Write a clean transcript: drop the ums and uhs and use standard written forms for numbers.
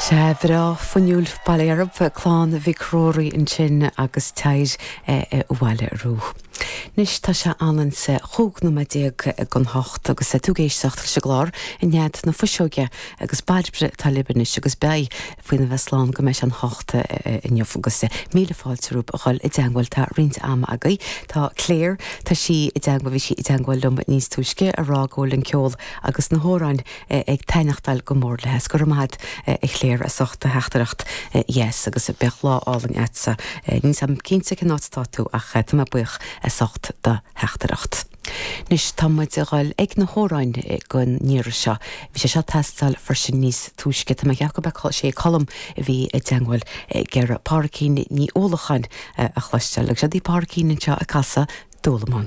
Sea, bhreá fuinniúil bail ó Dhia oraibh, Clann Mhic Ruairí ansin agus Tide Abhaile Arú. Anois tá sé anonn 's 15 nóiméad don hocht agus tú ag éisteacht leis an gclár i nead na fuiseoige agus Bairbre atá libh anois agus beidh faoina bheith slán go mbeidh sé an hocht inniu agus míle fáilte romhaibh a dhul i dteangmháil tá roinnt ama agaibh. Tá Claire, tá sí i dteangmháil, bhí sí i dteangmháil liom níos túisce a rá go bhfuil an ceol agus na hamhráin ag taitneachtáil go mór léi. Go raibh maith agat a Chléir as ucht do theachtaireacht dheas agus beadh lá álainn agatsa. Níl 's a'm cinnte cén áit atá tú ach tá mé buíoch as ucht do theachtaireacht. Anois tá muid a dhul ag na hamhráin don iarraidh seo. Bhí sé seo ag teastáil freisin níos túisce. Tá mé ag ceapadh gurb é sé Colm a bhí i dteangmháil ag iarraidh Pádraicín Ní Uallacháin a chloisteáil. Agus seo í Pádraicín anseo ag casadh Dúlamán.